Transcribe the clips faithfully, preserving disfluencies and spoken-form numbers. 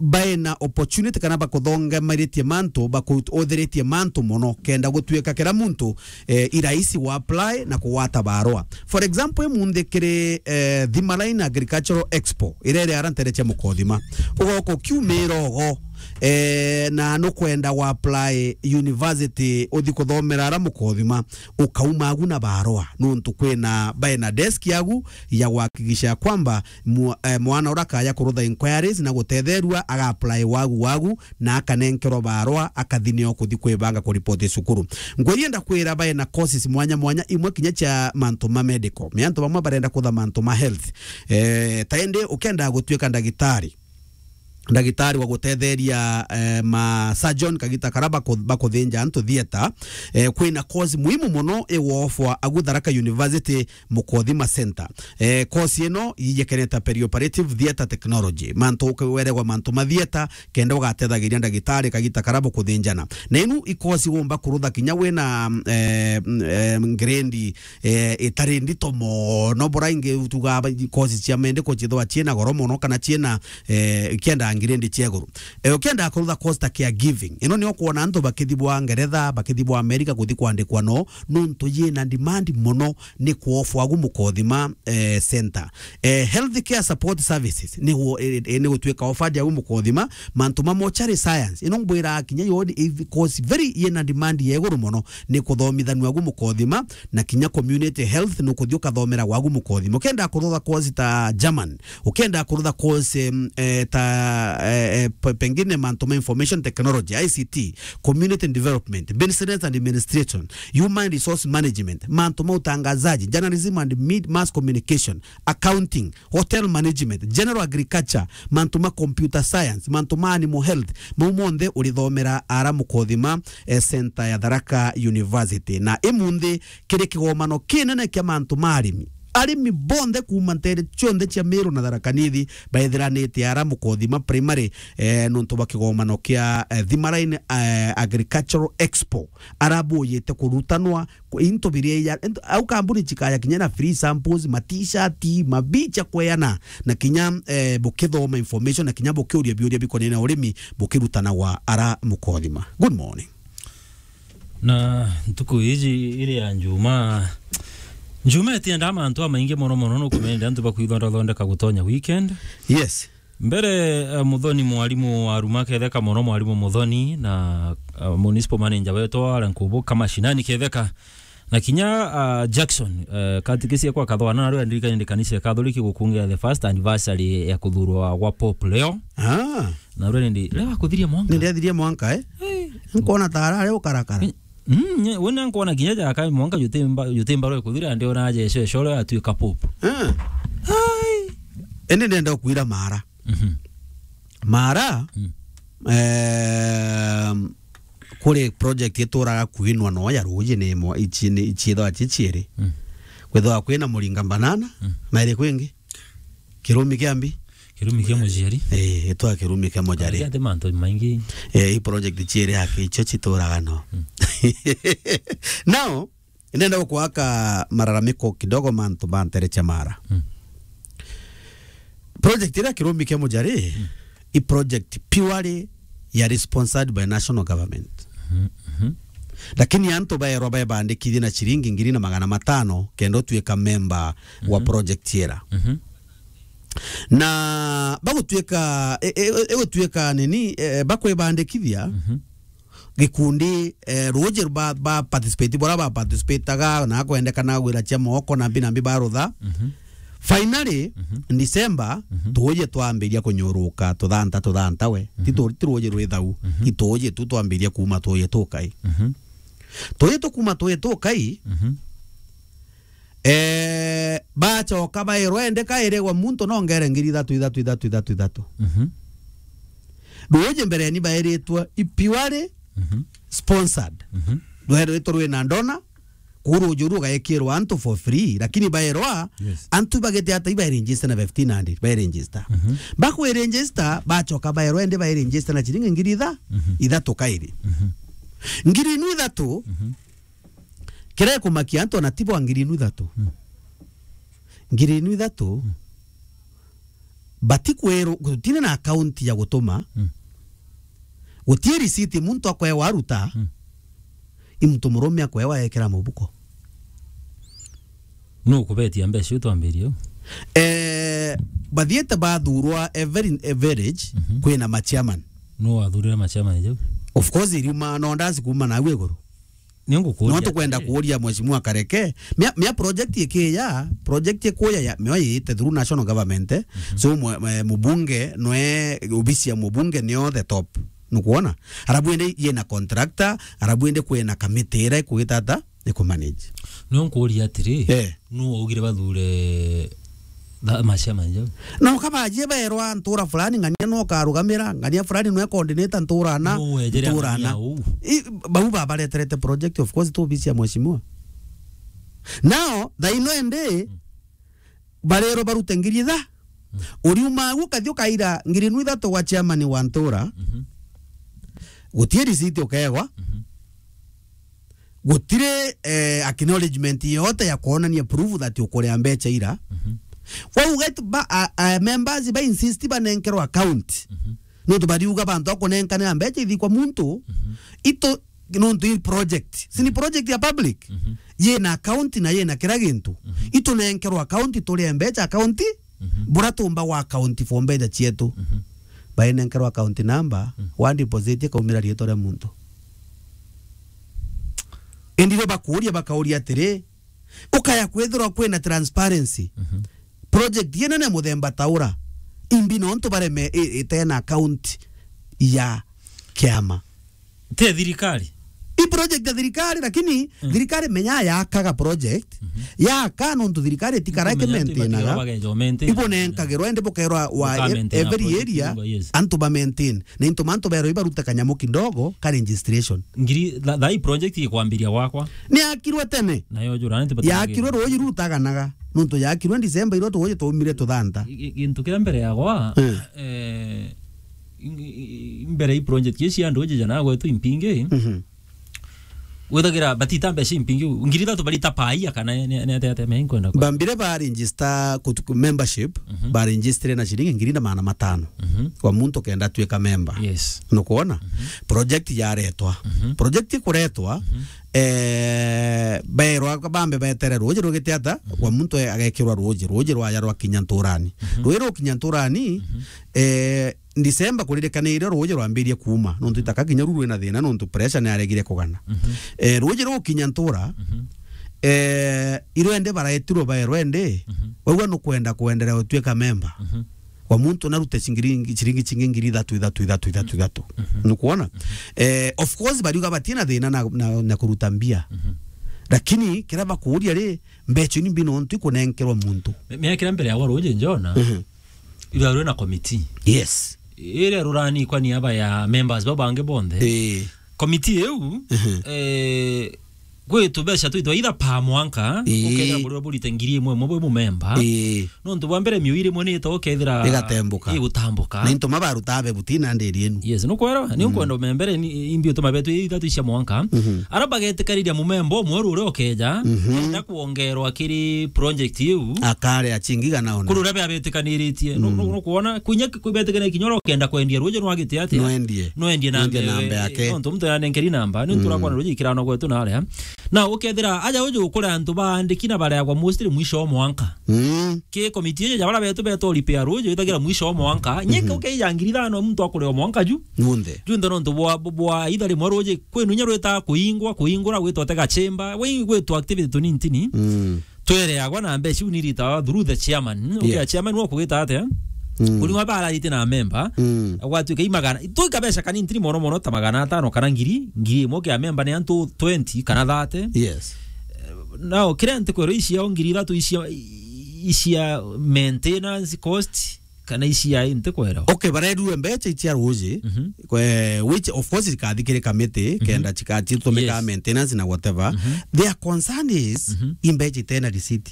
bae na opportunity kana bakuthongemaritie mantu, bakuuthiritie mantu mono, kenda gutuika kira muntu, eh, i rahisi wa apply na kugwata barua. For example, imunthi kiri, eh, Thima Line Agricultural Expo, iria iri ara ntere cia Mukothima. Ugoka ukiumira ugo, eh, na nukwenda wa apply university uthi kuthomera ara Mukothima, ukauma agu na barua, nuntu kwina bae na desk yagu ya gwakikisha kwamba mu-, eh, mwana uria akaja kurutha inquiries na gutetherua, aga apply wagu wagu, na akanenkerwa barua, akathi nio kuthi kwibanga kuripoti cukuru. Ngwirienda kwira bae na courses mwanya mwanya, imwe kinya cia mantu ma medical. Ni antu bamwe barenda kutha mantu ma health. Eh, ta indi ukenda gutuika ndagitari, ndagitari wa gutetheria, eh, ma surgeon kagita kara baku-, bakuthinja antu theatre, eh, kwina course muhimu mono igwofwa agu Tharaka University Mukothima Center. Eh, course ino ijekeneta perioperative theatre technology. Mantu uke-, weregwa mantu ma theatre, kenda ugatethagiria ndagitari kagita kara bukuthinjana. Na inu i course womba kurutha kinya wina, eh, mm, eh, grade, eh, itari ndito mono, bora ingi tuga ba-, course cia medical cithwa ciina goro mono kana ciina, eh, ikienda grade cia iguru. Eh, ukienda kurutha course ta caregiving. Ino nio kwona antu bakithi bwa Ngeretha, bakithi bwa America kuthi kwandikwa no, nuntu yina demand mono ni kuofwa agu Mukothima, eh, center. Eh, health care support services ni gu-, eh, eh, ni gutuika offered agu Mukothima, mantu ma mortuary science. Ino ngwira kinya yo ni course very yina demand ya iguru mono ni kuthomithanua agu Mukothima, na kinya community health nukuthi ukathomera gwagu Mukothima. Ukenda kurutha course ta German, ukenda kurutha course, em, eh, ta, eh, eh, pe-, pengine mantu ma information technology, I C T, community development, business and administration, human resource management, mantu ma utangazaji, journalism and mid-, mass communication, accounting, hotel management, general agriculture, mantu ma computer science, mantu ma animal health, mau monthe urithomera ara Mukothima, eh, center ya Tharaka University. Na imunthi kiri kigomano kinene kia mantu ma arimi. Arimi bonthe kuuma ntere cionthe cia Meru na Tharaka Nithi baithiranite ara Mukothima Primary, eh, nuntu bwa kigomano kia, eh, Thima Line, eh, Agricultural Expo. Ara bujite kurutanwa ku-, into biria ya, into, au kambuni cikaya kinya na free samples, ma t-shirt, mabicha kweana, na kinya, eh, bukithoma information, na kinya bukiuria biuria bikonene na urimi, bukirutanagwa ara Mukothima. Good morning. Na ntuku iji iri ya Njuma, Njuma itiendaa mantu amaingi mono mono, nukumenya antu bakwithondathondeka gutonya weekend. Yes. Mbere, eh, Muthoni mwarimu aruma ketheka mono, mwarimu Muthoni na, eh, municipal manager wetu ara nkubu ka mashinani ketheka. Na kinya, ah, Jackson, eh, katikisi kwa kathwana na rwa ndirikani ndi kanisa ya Catholic gukungia the first anniversary ya kuthurwa gwa Pope Leo. Ah. Na rwa ndi, leo akuthiria mwanka. Ndi athiria mwanka, eh? Hey. Nkona ta arare ukarakara. Mm, nye, wona nkona kinya jaka mwanka jutimba, jutimba rwa kuthira ndi ona Jesu eshoro atuika Pope. Ah. Ai. Ende ndenda kuira mara. Mhm. Mara, mm, ehm, kuri project ituraga kwinwa no ya ruji ni mo, ici ni, ici ithwa ci ciiri. Mm. Kwithwa kwina Muringa Banana, mm, na iri kwingi? Kirumi kia mbi? Kirumi kia muciari? Eh, itwa kirumi kia muciari. Ati mantu maingi. Eh, i project ciiri haki icio cituraga no. Mm. Now, ndenda gukwaka malalamiko kidogo mantu ma ntere cia Mara. Mm. Project iria kirumi kia mujari, mm, i project purely ya sponsored by national government. Mhm, mhm. Lakini antu baerwa baebandikithie na ciringi ngiri na magana matano kenda utuika member wa, mhm, project ira. Mhm. Na bagutuika, e, e, e, egutuika nini, e, bakwibandikithia, mhm, gikundi, eh, ruji ba, ba participate, bora ba participataga, na kwendekana gwira cia moko na mbi na mbi barutha. Mhm. Finally, mhm, December, mhm, tuuji twambiria kunyuruka, tuthanta, tuthanta we. Ti, mhm, tu-, ti ruji rwi thau, mhm, i tuuji tu twambiria kuuma tuuji tukai. Mhm. Tuuji tukuma tuuji tukai, mhm. Eh, bachoka bairwa ende kairigwa muntu no ngere ngiri ithatu, ithatu, ithatu, ithatu, ithatu. Mhm. Ruuji mbere ni bairitwe i purely, mhm, sponsored. Mhm. Rweritwe rwina ndona, kuu ruuji uru rugaikirwa antu for free, lakini bairwa, yes, antu bagite ata iba register na fifteen hundred, bai register. Mhm. Bakwi register, bachoka bairwa ende bai register na chiringi ngiri itha-, mhm, ithatu kairi. Mhm. Ngiri inu ithatu, mhm. Kiria gikumakia antu ona ti bwa ngiri inu ithatu. Mm. Ngiri inu ithatu, mm, Bati kwerwo, gutine na account ya gutuma. Mm. Gutie receipt muntu akwewa aruta. Mm. I muntu murume akwewa ekira mubuko. Nuu kubetia mbeca iu twambirie u? Eh, bathiete bathurwa every, every village. Mhm. Kwina ma chairman. Nuu wathurire ma chairman jau? Of course, iriuma no ndazi kuuma nau iguru. Ni ngukuria. No tukwenda atiri, kuuria Mheshimiwa Kareke. Mia, mia project ikiya, project ikuya ya, mio yiite through national government, eh. Mhm. So, mwe, mwe, mubunge, nwe, obisi ya mubunge nio the top. Nukwona? Arabu ende yina contractor, arabu ende kwina committee ira ikugita ata, ikumanage. Nio nkuuria atiri, eh, nuu waugire bathure tha-, ma chairman jau? Na ukabajie baerwa ntura fulani, ng'ania nwe ukarugamira, ng'ania fulani nwe coordinator ntura ana, nuu wejere ntura ana. Ng'ania uu? I, bau babareterete project, of course, tu obisi ya mheshimiwa. Now, thaino ende, mm, barerwa barute ngiri itha. Mm. Uriuma au ukathi ukaira ngiri nu ithatu gwa chairman wa ntura. Mhm. Gutie receipt ukegwa. Mhm. Gutiri, eh, acknowledgement yote ya kuonania proof that ukuria mbecha ira. Mhm. Kwou ugetu ba, a, a, members ba insist banenkerwa account. Mhm. Nontu bariuga bantu akunenkanira mbecha ithi kwa muntu. Mhm. Ito, nontu i project. Si ni project ya public? Mhm. Yina account na yina kira gintu. Mhm. Itunenkerwa account, turie mbecha account. Mhm. Bura tumba wa account for mbecha cietu. Mhm. Bainenkerwa account number, mhm, wa deposit ikaumira riitwa ria muntu. Indi rio bakuuria, bakauria atiri, ukaya kwithirwa kwina transparency. Mhm. Project inene muthemba ta ura, imbi nontu bareme i-, itena account ya kiama. Te thirikari? I project ya thirikari, lakini, mm, thirikari menya yakaga project, mhm, yaka nontu thirikari itikara ikimaintainaga. Ibo nenkagirwa, indi bukerwa wa every area, yes, antu ba maintain. Na into mantu berwa ibarute kanyamu kidogo ka registration. Ngiri, tha-, tha-, i project ikwambiria gwakwa. Ni yakirwe tene. Nayo jura, nti bati yakirwe ruuji rutaganaga. Nontu yakirwe December, irwe tuuji tuumire tuthanta. I-, i-, gintu kiria mbere yagwa, eh, eh, i-, i-, i-, mbere i project ici cia nduuji jana gwetu impingi, mhm, withagira batita mbeca impingi, ngiri ithatu barita paia kana ni, ni, ni atia, atia, me nkwenda kwa? Bambire ba register kutu-, membership, mhm, ba register na ciringi ngiri na magana matano, mhm, kwa muntu kenda atuika member. Yes. Nukwona? Mhm. Project yaretwa. Mhm. Project ikuretwa, mhm, eh, berwa bambe betere ruuji rugite ata, mhm, kwa muntu e-, agekirwa ruuji, ruuji rwaja rwakinya nturani. Mhm. Ruuji rukinya nturani, mhm, eh, December kuririkaniire ruuji rwambirie kuuma, nontu itaka kinya ru rwina thina, nontu pressure ni yaregire kugana. Mhm. Eh, ruuji rukinya ntura, mhm, eh, irwende baraetirwe baerwa ende, mhm, waigua nukwenda kwenderea utuika memba. Mhm. Kwa muntu narute cingiri-, ciringi cingi ngiri ithatu, ithatu, ithatu, ithatu, ithatu. Mhm. Nukwona? Mhm. Eh, of course, bariuga batina thina na, na, na kuruta mbia. Mhm. Lakini kiria bakuuria ri, mbeca ni mbi nontu ikunenkerwa muntu. Mi-, miaka iria mbere ya ruuji njona, mhm, irarwe na committee. Yes. Iria rurani kwani aba ya members bau bangi bonthe. Ii. Committee iu, mhm, eh, gwitu mbeca twitwa either per mwanka, ii, ukethira buri burite ngiri imwe imwe bwi mumemba. Ii. Nontu bwa mbere miui rimwe ni ita ukethira igatembuka. Igutambuka. Na into mabaruta be butina ndiri inu. Yes, nukwera, ni, mm, nkwenda umembere ni imbi utuma betu ithatu cia mwanka. Mhm. Ara bagetikariria mumemba umwe uria ukeja, mhm, enda kuongerwa kiri project iu. Akare achingiga naona. Kuri uria beabetikaniritie. Nu-, mm, nu-, nukwona, kwinya ki-, kwibetikania kinya uria ukenda kwendia ruuji nwagite atia? Nwendie. Nwendie na, nwendie na mbe-, mbe yake. Nontu muntu yanenkeri namba, ni ntura, mm, kwana ruuji ikirano gwetu na aria. Na ukethira aja uju ukure antu baandiki na bareagwa mostly mwisho wa mwanka. Mm. Ki committee iji ja bara betu beto repair ruuji withagira mwisho wa mwanka. Nyeka, mhm, ukeija ngiri ithano muntu akurewa mwanka ju. Munthe. Junthe nontu bwa, bwa itha rimwe ruuji kwenu inya rwita kuingwa, kuingura gwitwa tega chamber, we gwitwa activity tuni ntini. Mm. Twereagwa na mbeca iu ni iritawa through the chairman. Ukea, yes, chairman wa kugita atia? Mm. Kuni wa bararite na member. Mm. Gwatuika i magana, tuika mbeca kanini ntini mono mono ta magana atano kana ngiri, ngiri imwe kia member ni antu twenty kana thirty. Yes. Eh, now, kiria ntikwirwa ici ya ngiri ithatu ici ya, ici ya maintenance cost, kana ici ya ntikwirwa. Okay, barerue mbeca icia ruuji, mhm, kwe, which of course ikathi kiri committee, mhm, kenda chika-, chitumika, yes, maintenance na whatever. Mhm. Their concern is, mhm, i mbeca itena receipt.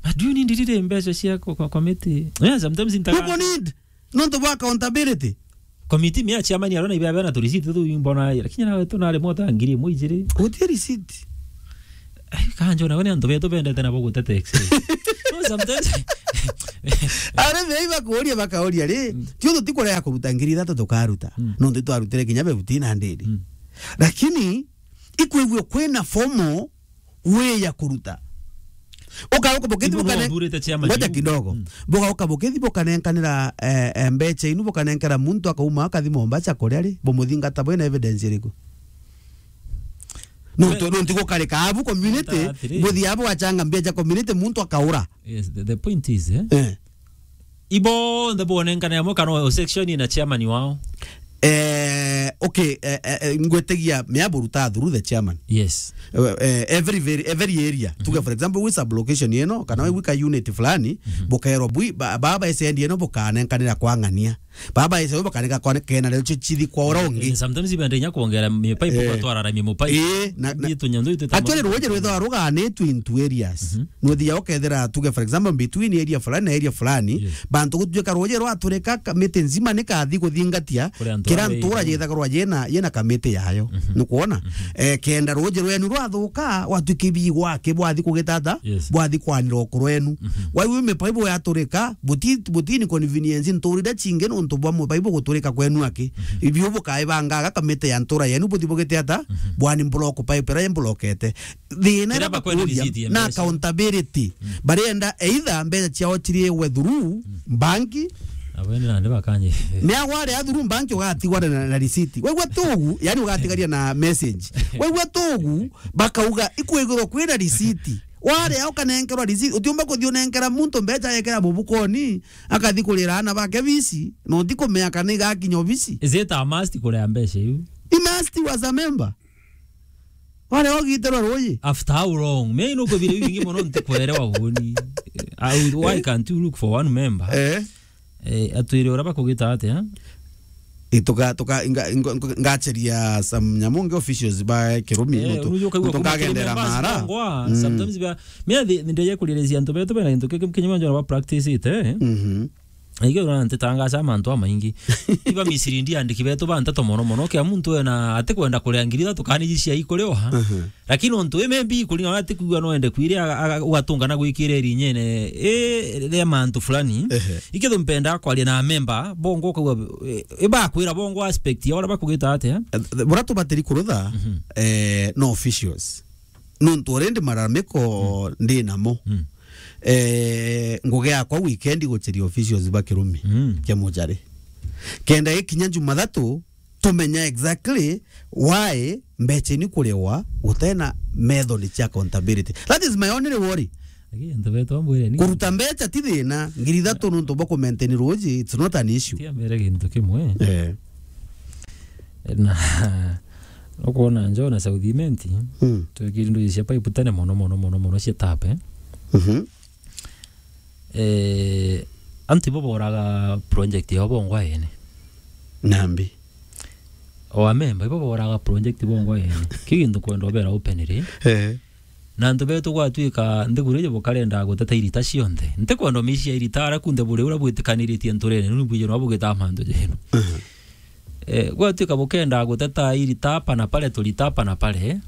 But do you need riri mbeca cia kwa, kwa committee? Yeah, sometimes in. People need. Nontu bwa accountability. Committee mia chairman arona ibe abena tu receipt tu imbona, lakini nawe tu nare mota ngiri imwe ijiri. Guti receipt. Ai, kanjo nawe ni antu betu bendete nabo gutete X-ray. No, sometimes, Ari thei bakuria, bakauria ri, mm, tio tutikurega kuruta ngiri ithatu tukaruta. Mm. Nontu twarutire kinya fifteen hundred. Mm. Lakini ikwigua kwina formal way ya kuruta. Ukauka bukithi. Ibu bukane-, bwathurite chairman ngoja yu kidogo. Mm. Bukauka bukithi bukanenkanira, eh, eh, mbecha inu bukanenkera muntu akauma akathi Mombasa kuria ri, bumuthingata bwina evidence iriku? Nontu, we-, nontu gukarika abu community, atiri, buthi abu wachanga mbecha community muntu akaura. Yes, the, the point is, eh? Eh. Ibonthe bonenkane amwe kana o section ina chairman wao? Eh, okay, eh, eh, eh, ngwetagia mea buruta through the chairman. Yes. Eh, eh, every, very, every area. Mhm. Tuge, for example, wi sub-location ino, kana, mhm, wi ka unit fulani, mhm, bukaerwa bwi, ba-, baba S N D ino bukanenkanira kwa ng'ania. Baba S N D bakaneka kwa kena leo chi-, chithi kwa ora ungi. Eh, sometimes ibende inya kuongera mi pipe, eh, kwa twararamia mu pipe. Eh, na, na, ni tunyandu itu actually, rwoje rwethwa ruganitwe into areas. Mhm. Nuthia ukethira, tuge, for example, between area fulani na area fulani, yes, bantu gutuika ruuji rwaturika, ka-, miti nzima ni kathi kuthingatia, kira ntura yithagarwa yina, yina kamiti yayo. Mhm. Nukwona? Mhm. Eh, kenda ruuji rwenu rwathuka, gwatuika ibi gwake bwathi kugitata, yes, bwathi kwanira uku rwenu. Mhm. Waiwe mipaibu yaturika, buti-, butini convenience nturire chingi nontu bwa mupaibu guturika kwenu aki. Mhm. Ibio bukaibangaga kamiti ya ntura yenu buthi bugite ata? Mhm. Bwani block pipe ira imblokete. Thina iria bakwenda bakuria receipt ya na mbeca. Accountability. Mm. Barenda either mbeca ciao ciriwe through, mm, banki. Abo ni nandi bakanye. Ni agware a through banki ugatigwa na, na receipt. Waigua tugu, yani ugatigaria na message. Waigua tugu, bakauga ikwigirwa kwina receipt. Ware au kanenkerwa receipt, utiumba kuthi unenkera muntu mbeca yekera mubukoni, akathi kurira ana bake bisi, no ti kumea kana igakinya obisi. Is it a must kuria mbeca iu? He must was a member. Wale ogiiterwa ruuji. After how long? Me nukwibire biu bingi mono ntikwerewa uuni. I would, why, eh, can't you look for one member? Eh. Eh, atwire uria bakugita atia? Eh, tuka, tuka, nga-, nga-, nga-, ngacheria some nyamu ngi officials ba Kirumi, eh, nontu, unajua ukaigua nontu kuma ngagendera Kirumi mara. Basi bangwa, mm, sometimes ba, me athi, ndeje kuririsia antu betu bena gintu kiki kinyuma njona ba practice ite, eh? Mhm. Aige urona ntitangaca mantu amaingi. Iba Misiri ndi andiki betu ba nteto mono mono. Kia muntu ena atikwenda kuria ngiri ithatu kana iji cia ikuriwa. Mhm. Lakini untu wi maybe kuringana na atikwigua no ende kwire aga-, aga-, ugatunga na gwikira irinyene. E, ria mantu fulani. Ehe. Ikithu mpenda kwaria na member, bongo ukauga, e, ibakwira bongo aspect ya uria bakugita atia? Eh, bura tubatiri kurutha, mhm, eh, no officials. Nontu already malalamiko, mm, ndi namo. Mm. Eh, ngugi yakwa weekend gucheria officials ba Kirumi, mm, kia Mujari. Kenda ikinya Jumathatu, tumenya exactly why mbecha ni kuriwa gutena method cia accountability. That is my only worry. Lakini antu betu ambwire ni kuruta mbecha ti thina, ngiri ithatu nontu bwa ku maintain ruuji, it's not an issue. Tia mbere gintu kimwe. Eh. Na, ukwona njo na South Imenti, mm, twikiri nduji cia pipe tene mono, mono, mono, mono cia tape. Mhm. Eh, antu ibo boraga project yao bongwa ene. Nambi. O amemba ibo boraga project bongwa ene. Ki gintu kwenda ubera open ri. Eh. Na antu betu gwatuika nthiguru iji bukarenda guteta irita cionthe. Ntikwenda umicia irita ara kunthe buri uria bwitikaniritie nturene, nuni bwije no bugita mantu jenu. Mhm. Eh, gwatuika bukenda guteta irita apa na pale, turita apa na pale,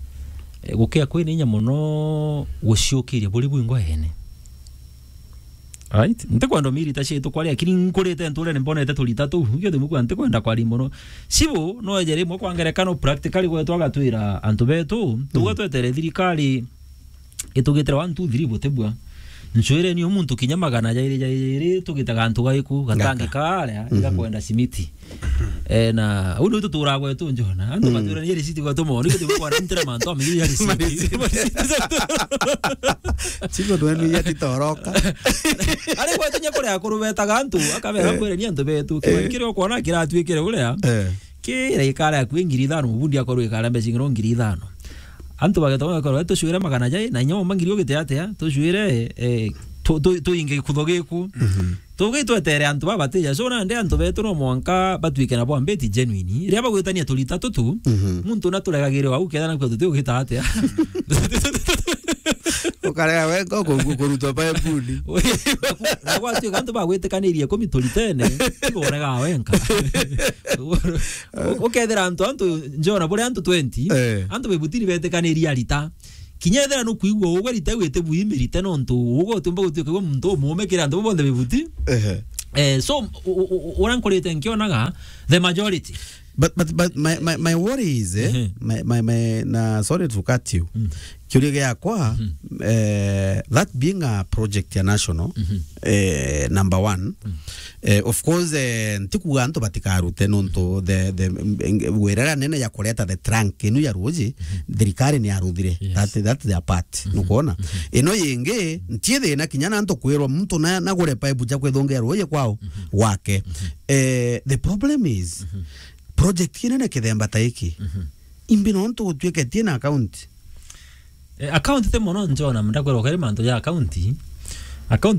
eh, gukia kwina inya mono guciukiria buri bwingwa ene. Right? Ntikwenda umiria irita cietu kwaria, lakini nkurite nturene mbonete turita tuu. Ikio thimu kwa ntikwenda kwaria mono. Cibu, no eje rimwe kwa ngerekano practically gwetu agatwira antu betu, tuga, mm, twetere thirikari itugitire one, two, three butibua. Ncwire ni muntu kinya magana jairi, jairi, tugitaga antu gaiku, gatangi karia, mhm, igakwenda simiti. Eh, na, uu niu tuturaga gwetu njona. Antu, mm, batwira ni risiti gwetu mono, ni gutibua kwa ntira mantu, amenye ya risiti. Mariciti. Mariciti. Chigo twenu ya titoroka. Ari gwetu nya kuria akuru betaga antu, akabera, eh, kwire ni antu betu. Eh. Kiri ukwona kiratuikire uria. Eh. Kira ikara akui ngiri ithano, mubundi akorwo ikara mbeca ing'iro ngiri ithano. Antu bageta bakorwo, "Tucwire magana jai, na inya uma ngiri ugite atia? Tucwire, eh, tu-, tu-, tuinge gikutho giku." Mhm. Tugi twetere antu babatija. So, nandi antu betu no mwanka batuike na bwa mbeti genuine. Riria bagwitania turita tutu, mhm, muntu naturegagire wau, ketha nakua tuti ugita atia? Ukarega wenka ku-, ku-, kurutwa Baibuli. Na gwatuika antu bagwitikanirie ikumi turitene, tiga uregaa wenka. U-, ukethira antu, antu njona buri antu twenty, eh, antu bebutini betikanirie arita. Kinya ethira nukwigua ugwe rita iu itibuimirite nontu ugwe utiumba gutuika gwe muntu umume kiri antu bonthe bibuti. Ehe. Eh, so, u-, u-, u-, uria nkurite nkionaga, the majority. But, but, but my, my, my worry is, eh, Ehe. my, my, my, na sorry to cut you. Mm. Kiuria giakwa, Mhm. eh, that being a project ya national, Mhm. eh, number one, Mm. eh, of course, eh, ntikuga antu batikarute nontu the, the, mm, wirera nene ya kureta the trunk inu ya ruji, Mhm. thirikari ni yaruthire. Yes. That, that's their part. Mhm. Nukwona? Mhm. Ino yingi, ntie thina kinya na antu kwirwa muntu na, na gure pipe ja kwithongea ruji kwao, Mhm. gwake. Mhm. Eh, the problem is, Mhm. project kinene kithemba ta iki. Mhm. Imbi nontu gutwiketie na account. Eh, account ti mono njona, ndakwirwa kari mantu ja account. Account